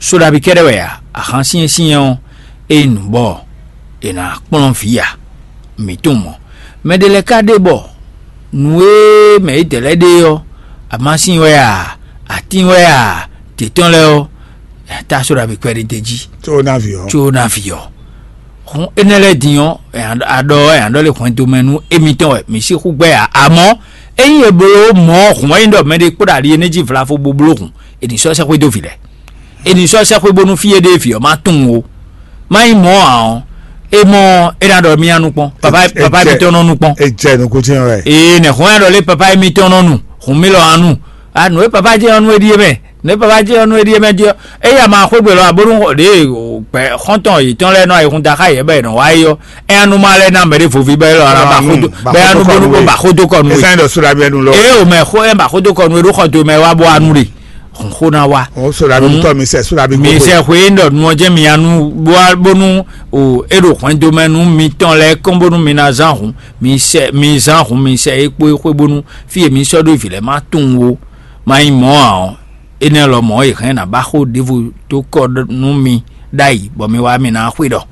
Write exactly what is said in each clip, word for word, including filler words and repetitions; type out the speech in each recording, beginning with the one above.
Sóɖabi kɛ́ɖɛ́ wɛ a? Ahan syɛ́nsyɛ́n ɔ́, é nyí nǔ bɔ è nǎ kplɔ́n vǐ ǎ. Mǐ tunwun mɔ̌. Mɛ ɖé lɛ́ɛ ka ɖe bɔ nǔ e mɛ yědɛɛ lɛ́ɛ ɖe ɔ́, amásin wɛ a, atín wɛ a, tě tɔn lɛ́ɛ ɔ́, tá sóɖabi kpɛɖé d'é jí, Có ná vǐ ɔ́. Có ná vǐ ɔ́. Hǔn énɛ́ lɛ́ɛ din ɔ́, a ɖɔ ɛ a ɖɔ lé hwɛndo mɛ nú émítɔn wɛ mǐ sixú gbɛ́ ǎ. Amɔ̌, ényí è bló mɔ̌ hǔn ɔ́ nyí ɖɔ mɛɖé kpó ɖo ali énɛ́ jí vlafo bó bló hǔn, è nǐ sɔ́ sɛ́xwé dó vǐ lɛ́ɛ. È nǐ sɔ́ sɛ́xwé bónú fí e ɖe vǐ ɔ́ má tunwun ó. Má nyí mɔ̌ ǎ ɔ́, é mɔ é ná ɖɔ mì nú kpɔ́n. Papa papa émítɔn nɔ nú kpɔ́n. È jɛ nǔkún cyɔ́n wɛ. Ee, nɛ̌ hɔn ɛ ɖɔ lé papa émítɔn nɔ nu, hǔn mì lɔ anu. A nǔ e papa jɛ ɔ́ nú é ɖíe mɛ, nǔ e papa jɛ ɔ́ nú é ɖíe mɛ jí ɔ́, é ya ma xwé gbe lɔ abónú ɖě gbɛ xɔ́ntɔn yětɔn lɛ́ɛ nɔ ayihún da xá yě bɔ è nɔ wá é ɔ́, é anu ma lɛ́ɛ ná mɛ ɖé voví bɔ é lɔ ná ba xódó bɔ é anu bónú bó ba xódó kɔ nú é. Esa ɖɔ sóɖa bɛ nu lɔ. Eye o mɛ xó ɛ ba xódó kɔ nú é ɖó xɔ do mɛ wá bó anu ɖe. Xó ná wá. O sóɖa bí tɔ mi sɛ sóɖa bí gbogbo. Mi sɛ xwe ɖɔ nu ɔ́ jẹ́ mi anu bónú o é ɖo hwɛndo mɛ nú mitɔn lɛ́ɛ kɔn bónú mi ná zán hǔn. Mi sɛ mi zán hǔn mi sɛ é kpó é xwé bónú fí e mi sɔ́ ɖó vǐ lɛ́ɛ má tunwun ó. Má nyí mɔ̌ ǎ ɔ́, énɛ́ lɔmɔ̌ è hɛn ná ba xó ɖěvo dó kɔ nú mi ɖ'ayǐ bɔ mi wá mi ná xwé ɖɔ.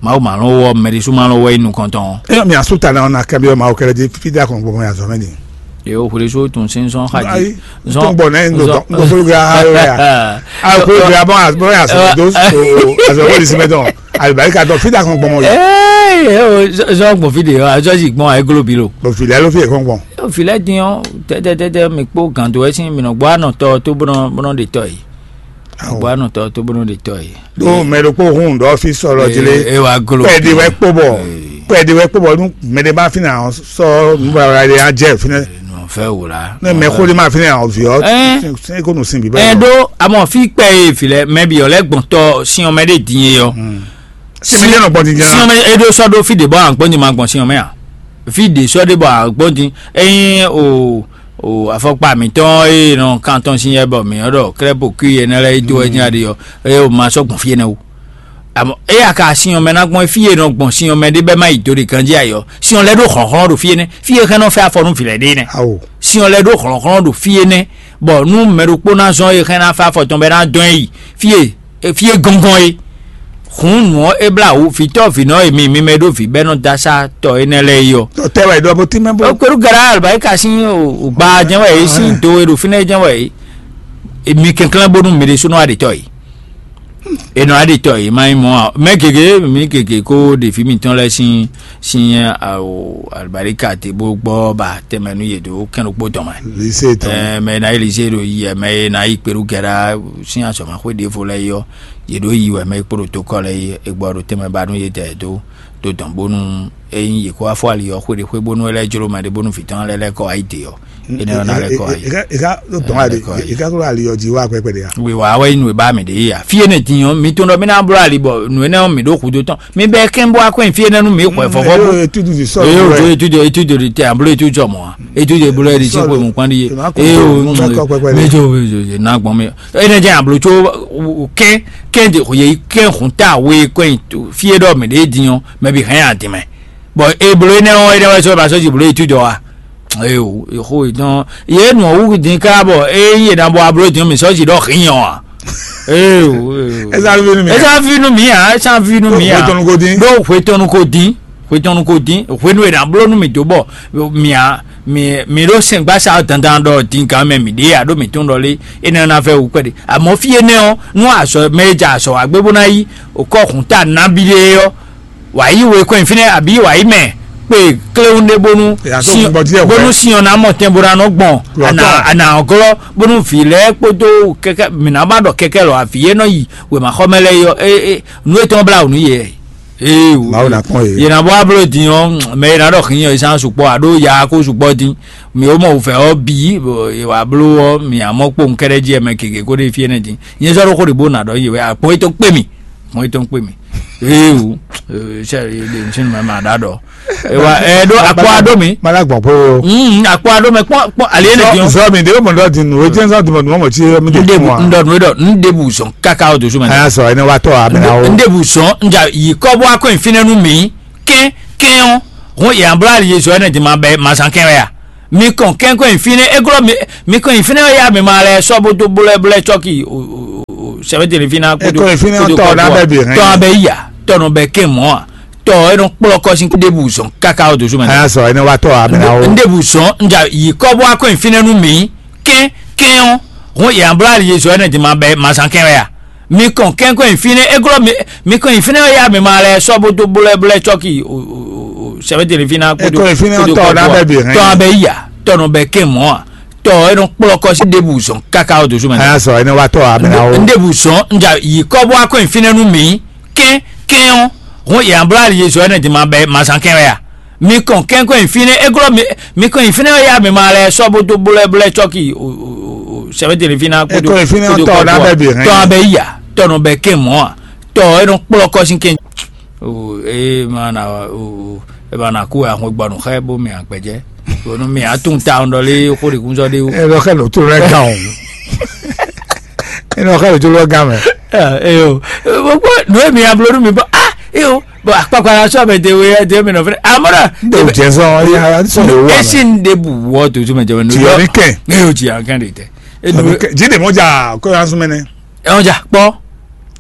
Mawu ma lɔn wɔ mɛ ɖésú ma lɔn wɔ yi nukɔntɔn. Eyɔ mi asu ta na ɔna kɛbi ɔma okɛlɛ di fida kɔn gbɔmɔ ya zɔmɛ ni. Ye o xwele so tun sin sɔn xa ji. Ayi, tun gbɔ nɛ ndo gbɔ fo ga ha ya. A ko ga bɔ a bɔ ya so do so a so ko lisi mɛ dɔn. A ba ka dɔn fida kɔn gbɔmɔ yi. Ee, o zɔ gbɔn fi de yɔ, a zɔ si gbɔn a glo bi lo. Bɔ fi lɛ lo fi kɔn gbɔn. O fi lɛ din ɔ, tɛtɛtɛtɛ mi kpó gando wɛ sin mi nɔ gbɔ anɔ tɔ to bɔnɔ bɔnɔ de tɔ yi. Gbɔ anɔ tɔ to bɔnɔ de tɔ yi. Ɖó mɛ ɖokpó hun ɖɔ fí sɔlɔ jí lé. E wa glo. Kpɛɖi wɛ kpó bɔ kpɛɖi wɛ kpó bɔ nú mɛ ɖé bá fínɛ àwọn sɔ nú bàbá ɖé á jẹ́ fínɛ. Nù fẹ́ wò la. Ne mɛ xó ɖé má fínɛ àwọn viɔ. Sɛn kó nù sin bí bá. Ɛ ɖó àmọ́ fí kpɛ e fi lɛ mɛ bi ɔlɛ gbɔn tɔ sin ɔmɛ ɖé din e yɔ. Sin mɛ jẹ́ nɔ gbɔn din jẹ́. Sin ɔmɛ e ɖó sɔ ɖó fí ɖe bɔ à ń gbɔn din ma gbɔn sin ɔmɛ à. Fí ɖe sɔ ɖe bɔ à ń gbɔn din. Ɛyin o o afɔkpa mǐtɔn e nɔ kan tɔn sin yɛ bɔ mǐ ɔ́ ɖɔ krɛpo kui enɛ lɛ́ɛ yi dó wɛ nyí aɖi ɔ́, eye o ma sɔ́ gbɔn fí énɛ́ o. Amɔ eya ka sin ɔmɛ ná gbɔn fí e nɔ gbɔn sin ɔmɛ ɖé bɛ má yi do ɖe ganjí ayɔ. Sin ɔlɛ ɖó hlɔ̌nhlɔ́n ɖo fí énɛ́, fí e hɛn nɔ fɛ afɔ nú vǐ lɛ́ɛ ɖe nɛ́. Awo. Sin ɔlɛ ɖó hlɔ̌nhlɔ́n ɖo fí énɛ́, bɔ nú mɛ ɖokpó ná zɔn e hɛn ná fɛ afɔ tɔn bɛ ná dɔn ɛ yi fí e e fí e gɔngɔn é. Hǔn nǔ ɔ́ é blá wǔ vǐtɔ́ vǐnɔ e mi mi mɛ ɖó vǐ bɛ́ nɔ dó asá tɔ énɛ́ lɛ́ɛ é ɔ́. Tɔ tɛ wɛ ɖɔ bó tínmɛ bó. Ó kpéɖú gara albayi ka sín ògbà jɛ́n wɛ é sín do e ɖo fínɛ́ jɛ́n wɛ é. Mi kɛnklɛ́n bónú mi ɖésúnɔ wá ɖe tɔ é. È nɔ wá ɖe tɔ é má nyí mɔ̌ ǎ. Mɛ gěgé mi gěgé kó ɖeví mitɔn lɛ́ɛ sín sín albaríka te bó gbɔ ba tɛnmɛ nú yě dó kɛn ɖokpó tɔn mɛ. Lise tɔn. Ɛ mɛ ná yi lise ɖo yi ɛ mɛ ná yi kpeɖu gɛɖa sín azɔ̌mɛxwé ɖěvo lɛ́ɛ yi ɔ́, yě ɖo yi wɛ mɛ yi kpo ɖo tokɔ lɛ́ɛ yi e gbɔ ɖo tɛnmɛ ba nú yě dɛ dó dó dɔn bónú ényí yě kó wá fɔ ali ɔ́ xwé ɖé xwé bónú é lɛ́ jló mɛ ɖé bónú vǐ tɔn lɛ́ɛ lɛ́ kɔ wá yi dě ɔ́, énɛ́ ɔ́ ná lɛ́ kɔ wá yi. Ìka ìka ló tɔn wá de ìka kúrò ali ɔjí wá pẹpẹ de ya. Wíwá wɛ nú ìbá mi ɖě yí a fí énɛ́ din ɔ́ mi tún ɖɔ mí ná bló ali bɔ nǔ énɛ́ ɔ́ mi ɖó xudó tɔn mi bɛ kɛn bó wá kɔn fí énɛ́ nú mi xɔ ɛ fɔfɔ bó. Etudu di sɔrɔ eye o wɛ. Etudu etudu di tɛ ablo etudu sɔmɔ wa etudu eblo ɛdi sɛ ko mu kpandi ye. Eye o mi jo mi jo na gbɔn mi ene jẹ ablo tso kɛn kɛn de ye kɛn hun ta we kɔn fie dɔ mi de din ɔ mɛ bi hɛn adi mɛ bɔn eblo enɛ ɔ enɛ wɛ sɔ ba sɔ ji blo etudu wa. Eye o exo etɔn ye nɔ wu din ká bɔ eye na bɔ ablo din mi sɔ ji dɔ hin ɔ wa. Ee o. Esa fi nu mi. Esa fi nu mi a esa fi nu mi a. Hwetɔnu ko din. Ɖo hwetɔnu ko din hwetɔnu ko din hwenu e na bló nu mi dó bɔ mi a mi mi ɖo sɛngbasa dandan ɖɔ din gan mɛ mi ɖe a ɖo mi tún ɖɔ lé ene na fɛ wu kpɛɖe amɔ fi ene ɔ nu azɔ mɛ e dza azɔ wa gbé bó ná yí okɔ hun ta nabi ɖe ɔ wǎ yí we kɔn fínɛ́ abǐ wǎ yí mɛ kpe kléwún ɖé bónú bónú sinyɔn ná mɔ tɛn bó ná nɔ gbɔn ana ana glɔ bónú vǐ lɛ́ɛ kpódó kɛkɛ mǐ ná ba ɖɔ kɛkɛ lɔ avǐ e nɔ yi wěmaxɔmɛ lɛ́ɛ yɔ e e nú etɔn blá wǔ nú yɛ ee o Mawu ná kpɔn yě. Yě ná bɔ abló din ɔ́ mɛ e ná ɖɔ xǐnyɔ e sán sukpɔ́ a ɖó ya kó sukpɔ́ dín mǐ ó mɔ wǔvɛ́ ɔ́ bǐ bɔ è wǎ bló ɔ́ mǐ á mɔ kpowun kɛ́ɖɛ́ jí ɛ mɛ gěgé kó ɖe fí énɛ́ dín nyɛ sɔ́ ɖó xó ɖě bó ná ɖɔ yě wɛ akpɔ́n etɔn kpé mì. Mɔ etɔn kpé mi. Ee o sɛ ɖe ŋtsi nu mɛ ma ɖa ɖɔ ewa ɛ ɖo akpɔ aɖo mi. Mala gbɔn po. Mm akpɔ aɖo mɛ kpɔ kpɔ ali ene diɔ. Zɔ mi de o mɔ dɔ di nu o jɛn sɔ di mɔ numɔ mɔ tsi mi de. Ndebu ndɔ nu edɔ ndebu zɔn kaka o dosu mɛ. Aya sɔ ene wa tɔ a bɛ na o. Ndebu zɔn nja yi kɔ bɔ akɔ nfinɛ nu mi kɛn kɛn o. Hun yabla ali zɔ ene di ma bɛ ma zan kɛn wɛ ya. Mi kɔn kɛn kɔ nfinɛ eglɔ mi mi kɔn nfinɛ ya mi ma lɛ sɔ bo do bolɛ bolɛ tsɔki o. Sɛbɛ tele fina. Kodo kodo fina tɔ na bɛ bi hɛn. Tɔ abɛ iya, tɔ nɔ bɛ kɛ mɔ a. Tɔ e nɔ kplɔ kɔsi ɖebu zɔn kaka o dosu mɛ. Aya sɔ ene wa tɔ abɛ na o. Ndebu zɔn nja yi kɔ bɔ akɔ fina nu mi. Kɛ kɛ o. Hun yɛ abla ye zɔ ene di ma bɛ ma san kɛ ya. Mi kɔn kɛn kɔn fina e glɔ mi mi kɔn fina ya mi ma lɛ sɔ bo do bolɛ bolɛ tsɔki o. Sɛbɛ tele fina kodo kodo tɔ na bɛ bi hɛn. Tɔ abɛ iya, tɔ nɔ bɛ kɛ mɔ a. Tɔ e nɔ kplɔ kɔsi ɖebu zɔn kaka o dosu mɛ. Aya sɔ ene wa tɔ abɛ na o. Ndebu zɔn nja yi kɔ bɔ akɔ fina nu mi. Kɛ kɛ o. Hun yɛ abla ye zɔ ene di ma bɛ ma san kɛ ya. Mi kɔn kɛn kɔn fina e glɔ mi mi kɔn fina ya mi ma lɛ sɔ bo do bolɛ bolɛ tsɔki o. Sɛbɛ tele fina kodo kodo tɔ na bɛ bi hɛn. Tɔ abɛ iya, tɔ nɔ bɛ kɛ mɔ a. Tɔ e nɔ kplɔ kɔsi kɛ. O e ma na o e ma na ku ahun gbɔnu xɛ bo mi agbɛjɛ. Bonu mi atun ta ɔn dɔli xo de kun sɔ de o. E lɔ xɛ lo to lɛ gan o. E lɔ xɛ lo to lɛ gan mɛ. Eyo, gbogbo nu e mi ablo nu mi bɔ ah eyo, bɔ akpakpa la sɔ mɛ de we de mi nɔ fɛ amɔra. N de jɛ sɔn ya sɔn de wa. Esi n de bu wɔ to tu mɛ jɛ mɛ nu. Tiɲɛ ni kɛ. Eyo tiɲɛ kɛ de tɛ. Enu. Ji de mɔ ja ko ya sumɛ nɛ. Ɛ ɔn ja kpɔ.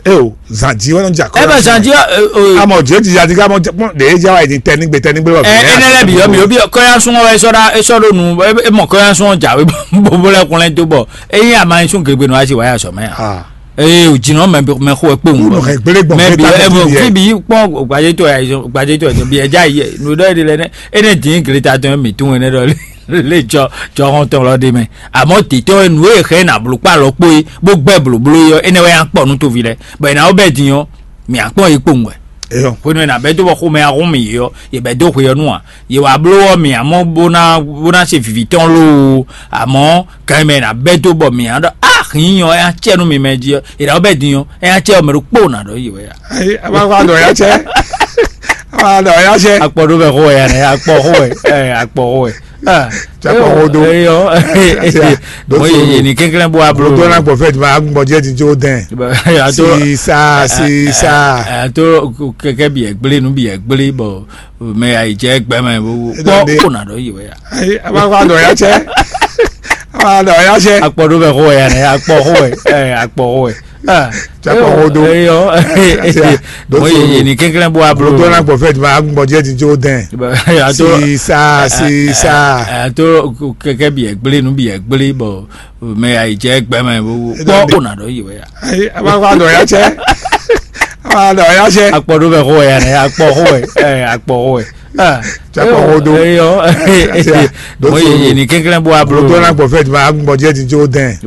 E o, zanji wɛ nɔ ja kɔ. Ɛ bɛ zanji ɔ. Amɔ jɛ ti ya ti ka mɔ de e ja wa yi ni tɛ nigbe tɛ nigbe lɔ. Ɛ ene lɛ bi yɔ mi yɔ bi kɔya sun wɛ sɔ da e sɔ do nu e mɔ kɔya sun ja we bobo lɛ kun lɛ do bɔ e yin ama sun gregbe nu asi wa ya sɔ mɛ ya. Ee o jinɔ mɛ mɛ xo ekpe ŋu. Mɛ bi ɛ mɔ fi bi kpɔn gbadzetɔ ya gbadzetɔ ya bi ɛ ja yi nu dɔ yi de lɛ nɛ ene din gele ta tɔn mi tun ene dɔ le. Le jɔ jɔhɔn tɔn lɔ ɖe mɛ. Amɔ titɔ e nu e xɛ na blokpa lɔ kpo yi bó gbɛ blóbló yi ɔ, enɛ wɛ ya kpɔ nu tovi lɛ. Bɔ ena wo bɛ din ɔ, mi akpɔ yi kpowun wɛ. Eyɔ. Hwenu ena bɛ do bɔ xomɛ ahun mi yi ɔ, ye bɛ do hwe ɔ nu a. Ye wa bló ɔ mi amɔ bó ná bó ná se vivi tɔn loo. Amɔ kan mɛ ena bɛ do bɔ mi a ɖɔ a hin ɔ ya cɛ nu mi mɛ ji ɔ, ena wo bɛ din ɔ, ya cɛ ɔ mɛ ɖo kpo na ɖɔ yi wɛ ya. Ayi, a ma va dɔ ya cɛ. A ma dɔ ya cɛ. Akpɔ ɖo bɛ xo wɛ ya nɛ, akpɔ xo wɛ, ɛ akpɔ xo wɛ. Ah, Cakpɔ xo do. Eyɔ. Mo ye ye ni kɛnklɛn bɔ ablo. Tó na gbɔ fɛ juma agbɔn jɛ ti jo dɛn. Ato sisa sisa. Ato kɛkɛ bi ɛgble nu bi ɛgble bɔ mɛ ayi jɛ gbɛmɛ bɔ kpɔ kpɔ na dɔ yi wɛ ya. Ayi, a ma va dɔ ya cɛ. A ma dɔ ya cɛ. Akpɔ ɖo bɛ xo wɛ ya nɛ, akpɔ xo wɛ, ɛ akpɔ xo wɛ. Cakpɔ xo do. Eyɔ. Mo ye ye ni kɛnklɛn bɔ ablo. Tó na gbɔ fɛ juma agbɔn jɛ ti jo dɛn. Ato sisa sisa. Ato kɛkɛ bi ɛgble nu bi ɛgble bɔ mɛ ayi jɛ gbɛmɛ bɔ kpɔ kpɔ na dɔ yi wɛ ya. Ayi, a ma va dɔ ya cɛ. A ma dɔ ya cɛ. Akpɔ ɖo bɛ xo wɛ ya nɛ, akpɔ xo wɛ, ɛ akpɔ xo wɛ. Cakpɔ xo do. Eyɔ. Mo ye ye ni kɛnklɛn bɔ ablo. Tó na gbɔ fɛ juma agbɔn jɛ ti jo dɛn.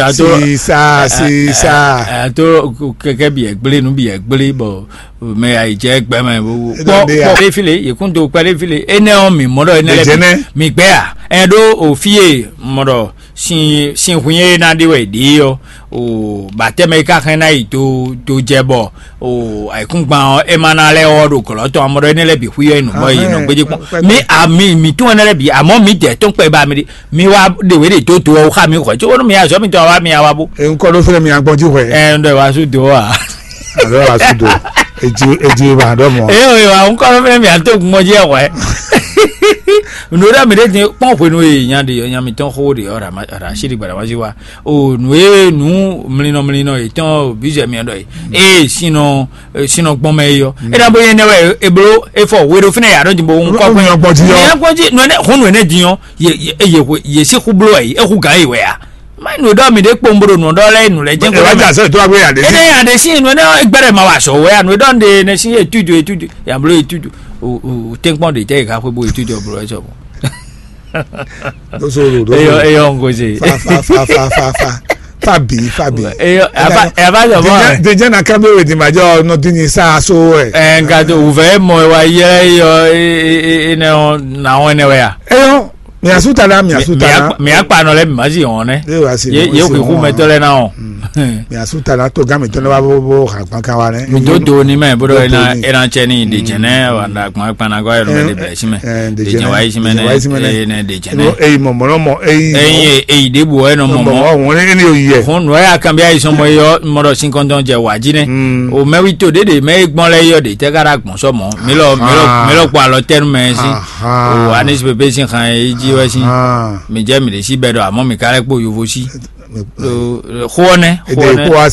Ato sisa sisa. Ato kɛkɛ bi ɛgble nu bi ɛgble bɔ mɛ ayi jɛ gbɛmɛ bɔ kpɔ kpɔ ɖe file yekun do kpɛ ɖe file enɛ ɔ mi mɔ ɖɔ enɛ lɛ mi gbɛ ya ɛ ɖo o fi ye mɔ ɖɔ sin sin hun ye na ɖe wɛ ɖe yɔ o batɛmɛ yi ka xɛn na yi do do jɛ bɔ o ayikungban ɔ e ma na lɛ ɔ ɖo gɔlɔ tɔn amɔ ɖɔ enɛ lɛ bi hu yɔ yi nɔ bɔ yi nɔ gbedzi kpɔn mi a mi mi tún enɛ lɛ bi amɔ mi dɛ tɔn kpɛ ba mi ɖi mi wa ɖe wɛ ɖe do do ɔ xa mi xɔ tso wonu mi azɔ mi tɔ wa mi awa bo. Nkɔ ɖo fɛnɛ mi agbɔn ji xɔ. Ɛ n dɔ wa su do wa. Alo asu do. Eji eji ma ɖɔ mɔ. Eyo eyo awo ŋkɔ fɛnɛ mi ato gbɔn ji ɛwɛ. Nɖo ɖe mi ɖe ti kpɔn hwenu ye nya de nya mi tɔn xo de ɔ ra si di gbada ma si wa. O nu ye nu mlinɔ mlinɔ ye tɔn bizɛ mi ɖɔ ye. Ee sinɔ sinɔ gbɔn mɛ ye yɔ. E na bo ye nɛ wɛ e blo e fɔ we ɖo fɛnɛ ya ɖɔ di bo ŋkɔ gbɔn. Nyɔ gbɔn ji yɔ. Nyɔ gbɔn ji nu ne hun nu ne di yɔ ye ye ye si xu blo ye e xu gan ye wɛ ya. Ma nu ɖɔ mi ɖe kpɔn bro nɔ ɖɔ lɛ nu lɛ jɛ. Ɛ wá jà sɛ tó wá gbé yà dé sí. Ene ya de si nu ne gbɛrɛ ma wa sɔ wɛ anu ɖɔ de ne si etudu etudu ya blo etudu o o tɛnkpɔn de tɛ ka xwe bo etudu bro ɛ sɔ. Doso ro doso. Eyɔ eyɔ n ko se. Fa fa fa fa fa fa fa bi fa bi. Eyɔ aba aba sɔ mɔ. Dèjẹ́ na kábíyèwé di ma jọ nọ dín ní sáà so ẹ̀. Ẹ nka tó wùfẹ́ mọ ẹ wá yẹ ẹ yọ ẹ ẹ ẹ ẹ nẹ ọ nà ọ ẹnẹ wẹ ya. Eyɔ. Miasu ta na miasu ta na. Miakpa nɔ lɛ mi ma si wɔn nɛ. Ye ye fi hu mɛ tɔ lɛ na o. Miasu ta na to gan mi tɔ ne wa bo bo ha kpan kan wa nɛ. Mi do do ni mɛ bodo ena ena cɛ ni de jɛnɛ wa da kpan kpan na gɔ yɛ no de bɛ si mɛ. De jɛnɛ wa yi si mɛ ne ne de jɛnɛ. Eyi mɔ mɔ mɔ eyi. Eyi eyi de bu wɛ nɔ mɔ mɔ. Wɔn ne ne yo yɛ. Hun nɔ ya kan bi ayi sɔn mɔ yɔ mɔ dɔ sin kɔntɔn jɛ wa ji nɛ. O mɛ wi to de de mɛ gbɔn lɛ yɔ de tɛ ka da gbɔn sɔ mɔ. Mi lɔ mi lɔ mi lɔ kpɔ alɔ tɛnu mɛ si. O anis pepe sin xan yi ji wɛ si. Mi jɛ mi de si bɛ dɔ amɔ mi ka lɛ kpo yovo si. Xo ɔnɛ xo ɔnɛ.